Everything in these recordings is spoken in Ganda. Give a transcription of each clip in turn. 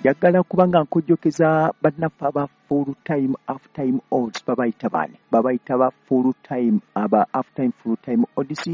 Njagala kuba nga nkujjukiza bannaffe aba full time half time odds. Babayita baani? Babayita ba full time, aba half time full time odds.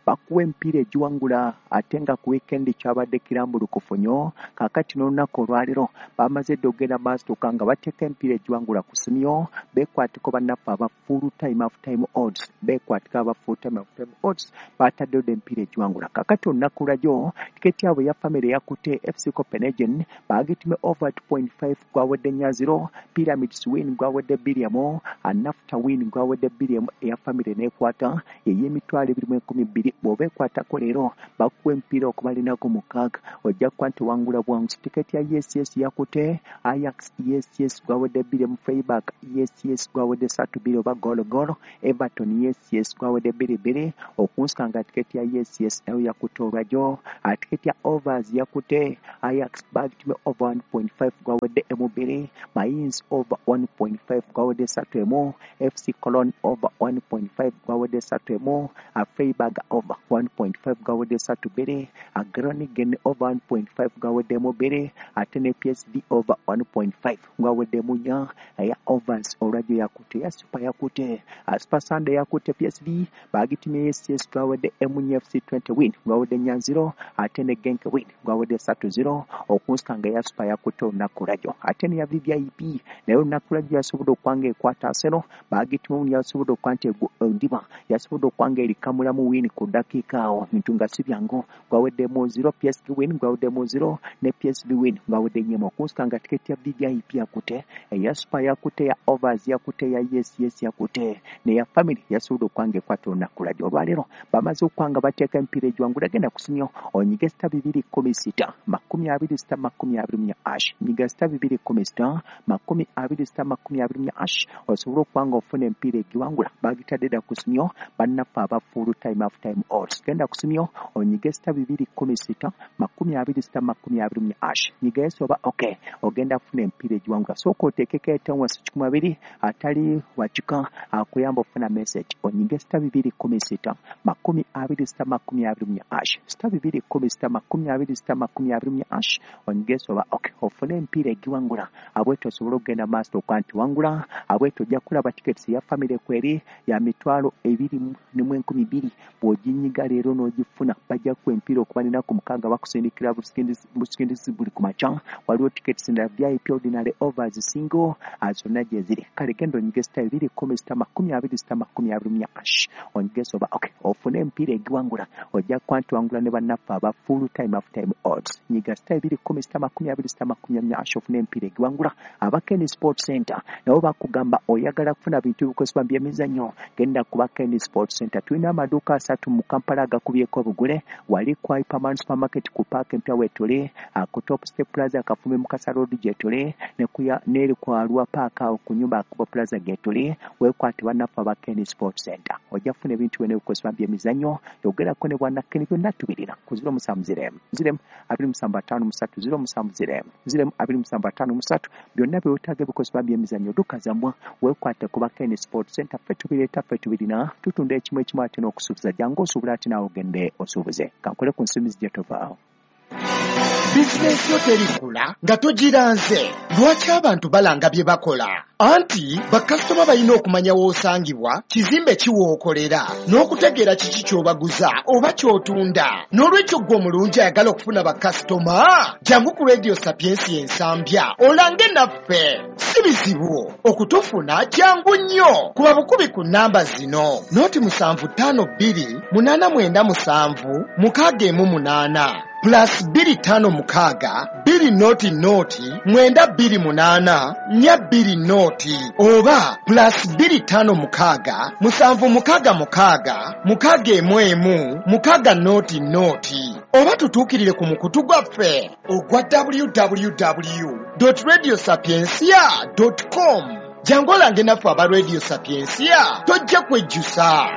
Bakuwa emipiira egiwangula, ate nga ku weekend kyabadde kirambulukufu nnyo. Kaakati n'olunaku olwaleero bamaze dda okugenda maaso nga bateeka emipiira egiwangula ku simyo. Beekwatiko bannaffe aba full time half time odds, beekwatiko aba full time half time odds, bataddeyo dda emipiira egiwangula. Kaakati olunaku lwajjo tiketi yaabwe eya family yakutte FC Copenhagen, baagitume over 2.5, gwawedde 4-0. Pyramids win gwawedde 2-1, Nafta win gwawedde 2-1. Eya family neekwata ey'emitwalo 212. Bw'oba ekwatako leero, bakuwa emipiira okumala ennaku 6, ojja kuba nti wangula bwangu. Tiketi ya yes yakute Ajax yes gwawedde 2-1, Freiburg yes gwawedde 3-2 oba goal goal, Everton yes gwawedde 2-2. Okunsanga tiketi ya yes nayo yakutte olwajjo. Tiketi ya overs yakute Ajax, bagitume over 1.5, gwawedde 1-2, Mainz over 1.5, gwawedde 3-1, FC Cologne over 1.5, gwawedde 3-1, Freiburg over 1.5, gwawedde 3-2, Groningen over 1.5, gwaweddemu 2, ate ne PSV over 1.5, gwaweddemu 4. Eya overs olwajjo yakutte. Eya super yakutte Super Sunday yakutte PSV, bagitumye yes gwawedde 1, FC 20 win gwawedde 4-0, ate ne Genk win gwawedde 3-0. Okunsanga eya super yakutte olunaku lwajjo. Ate neya VVIP naye olunaku lwajjo yasobodde okwanga ekwata Arsenal, bagitumye, yasobodde okuba nti ndiba yasobodde okwanga erikamulamu win ku ddakiika awo, bintu nga si byangu, gwaweddemu 0, PSV win gwaweddemu 0, ne PSV win gwawedde 4. Okunsanga tiketi ya VVIP yakute, eya super yakute, ya overs yakute, ya yes yakute, neya family yasobodde okwanga ekwata olunaku lwajjo. Olwaleero bamaze okwanga bateeka emipiira egiwangula. Genda kusimyo onyige *216 20 *24 hash. Nyiga *216 20 *24 hash, osobole okuba nga ofuna emipiira egiwangula. Bagitadde dda ku simyo bannaffe aba full time half time odds. Genda ku simyo onyige *216 20 *24 hash. Nyiga yes oba okay, ogenda kufuna emipiira egiwangula. Sooka oteekeko etenwasi 20, atali wakika akuyamba ofuna message. Onyige *216 20 *24 hash, *216 20 *24 hash. Onyige yes oba okay, ofune emipiira egiwangula. Abwetyo osobole okugenda maaso okuba nti wangula. Abwetyo ojja kulaba tickets ya family kweri ya 202,000. Bw'oginyiga leero n'ogifuna, bajja kuwa emipiira okuba nenaku 6, bakusindikira busindisi buli ku makya. Waliwo tickets endala, VIP, ordinary, overs, single, zonna gye ziri. Kale genda onyige *216 20 *24 hash, onyige yes oba okay, ofune emipiira egiwangula. Ojja kuba nti wangula ne bannaffe aba full time half time odds. Nyiga *216 20 *24 hash, ofune emipiira egiwangula. Aba Ken Sport Center nabo bakugamba, oyagala kufuna bintu bikozesebwa byemizannyo, genda kuba Ken Sport Center. Tulina amaduuka asatu mu Kampala agakubyeko obugule. Wali ku Hyperman Supermarket ku paaka empya wetuli, ku Top Step Plaza Kafumbe Mukasa Road gyetuli, neri ku Arua Paaka awo ku nyumba Akuba Plaza gyetuli. Weekwate bannaffe aba Ken Sport Center, ojja kufuna ebintu byonna ebikozesebwa byemizannyo. Yogerako ne bwana Ken, byonna tubirina ku 07 0 0 27 53, 07 0 0 27 53. Byonna byewetaaga ebikozesebwa byemizannyo, duka zammwe, weekwate kuba Ken Sport Center. Ffe tubireeta, ffe tubirina, tutunda ekimu ekimu ate n'okusuubuza. Jangu osuubula ate naawe ogende osuubuze. Kankole ku nsimbi zijja tovaawo. Bizinensi yo terikula nga togiranze. Lwaki abantu balanga bye bakola? Anti bakasitoma balina okumanya w'osangibwa, kizimbe kiwookolera, n'okutegeera kiki ky'obaguza oba ky'otunda. N'olwekyo ggwe omulungi ayagala okufuna bakasitoma, jangu ku Radio Sapiensi Ensambya olange naffe. Si bizibu okutufuna, jangu nnyo. Kuba bukubi ku nnamba zino: 0752 897 618, +256 2 0 0 928 420 oba +256 766 611 600, oba tutuukirire ku mukutu gwaffe ogwa www radio sapiencia com. Jangu olange naffe aba Radio Sapiencia, tojja kwejjusa.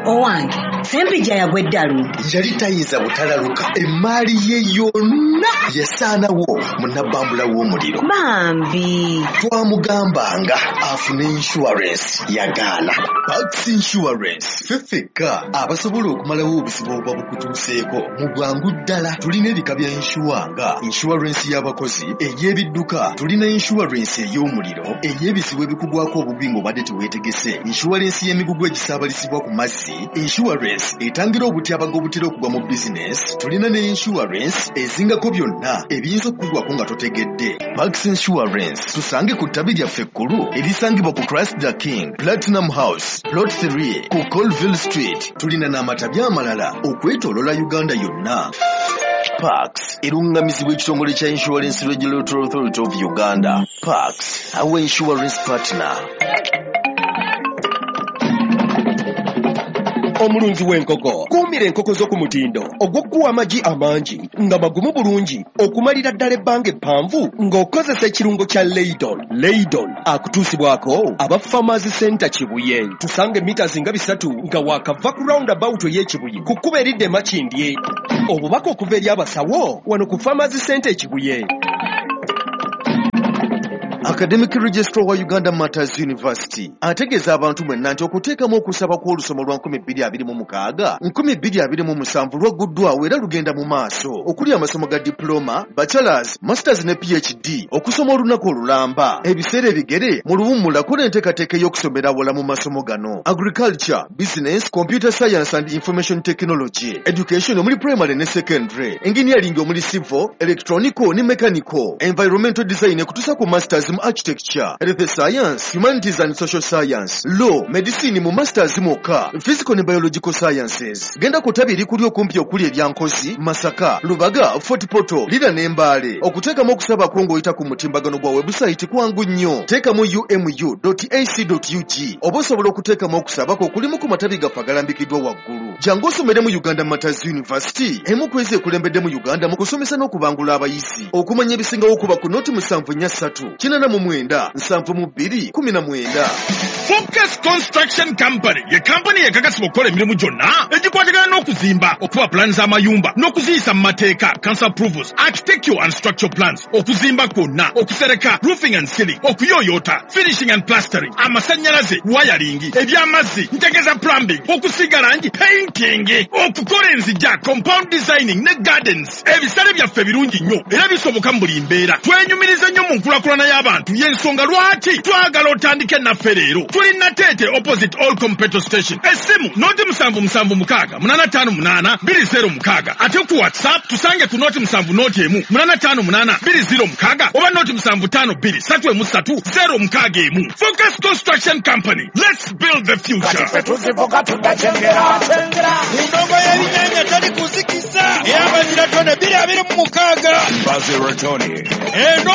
Owange, Ssempijja yagwa eddalu. Yali tayinza butalaluka, emmaali ye yonna yasaanawo mu nabbambula w'omuliro. Bambi. Twamugambanga afune insurance, yagaana. Pax Insurance ffe ffekka abasobola okumalawo obuzibu obuba bukutuuseeko mu bwangu ddala. Tulina ebika bya insure nga insurance y'abakozi, ey'ebidduka, tulina insurance ey'omuliro, ey'ebizibu ebikugwako obubi ng'obadde teweetegese, insurance y'emigugu egisaabalizibwa ku mazzi, insurance etangira obutyabaga obutera okugwa mu bizinesi, tulina ne insurance ezingako byonna ebiyinza okukugwako nga totegedde. Pax Insurance tusange ku ttabi lyaffe ekkulu erisangibwa ku Christ the King Platinum House, Plot 3 ku Colville Street. Tulina n'amatabi amalala okwetooloola Uganda yonna. Pax erungamizibwa ekitongole kya Insurance Regulatory Authority of Uganda. Pax, our insurance partner. Omulunzi w'enkoko, kuumira enkoko zo ku mutindo ogw'okuwa amagi amangi nga magumu bulungi okumalira ddala ebbanga eppanvu ng'okozesa ekirungo kya Leidon. Leidon akutuusibwako aba Farmers Center Kibuye. Tusanga mita nga 3 nga waakava ku roundabout ey'Ekibuye ku kkubo eridda e Makindye. Obubaka okuva eri abasawo wano ku Farmers Center e Kibuye. Academic Registrar wa Uganda Martyrs University ategeeza abantu mwenna nti okuteekamu okusaba kw'olusoma lwa 2026 2027 lwagguddwawo era lugenda mu maaso, okuli amasomo ga diploma, bachelors, masters ne PhD, okusoma olunaku olulamba, ebiseera ebigere mu luwummula. Kola enteekateeka ey'okusomera awala mu masomo gano: agriculture, business, computer science and information technology, education omuli primary ne secondary, engineering omuli civil, electronical ne mechanical, environmental design ekutuusa ku masters mu architecture, health science, humanities and social science, law, medicine mu masters mwokka, physical ne biological sciences. Genda ku ttabi erikuli okumpi okuli erya Nkozi, Masaka, Lubaga, Fort Portal, Lira ne Mbale. Okuteekamu okusaba kwo ng'oyita ku mutimbagano gwa website kwangu nnyo. Teekamu umu.ac.ug oba osobola okuteekamu okusaba kwo okulimu ku matabi gaffe agalambikiddwa waggulu. Jangu osomere mu Uganda Martyrs University, emu ku ezo ekulembedde mu Uganda mu kusomesa n'okubangula abayizi. Okumanya ebisingawo kuba ku 074 89 72 19. Focus Construction Company ye kampani ekakasibwa okukola emirimu gyonna egikwatagana n'okuzimba, okuba pulaani z'amayumba n'okuziyisa mu mateeka, council approvals, architectural and structural plans, okuzimba kwonna, okusereka, roofing and ceiling, okuyooyoota, finishing and plastering, amasannyalaze, wiring, ebyamazzi, ntegeeza plumbing, okusiiga langi, painting, okukola enzija, compound designing ne gardens. Ebisale byaffe birungi nnyo era bisoboka mu buli mbeera. Twenyumiriza nnyo mu nkulaakulana y'abantu, y'ensonga lwaki twagala otandike naffe leero. Tuli Nateete, opposite All Petrol Station. Essimu 077 658 206, ate ku WhatsApp tusange ku 070 1 858 206 oba 075 2 3 3 061. Focus Construction Company, let's build the future. Endongo y'ebinnyanja tali kuzikisa ey'abazira tone 2026. Bazira Tony. Eno.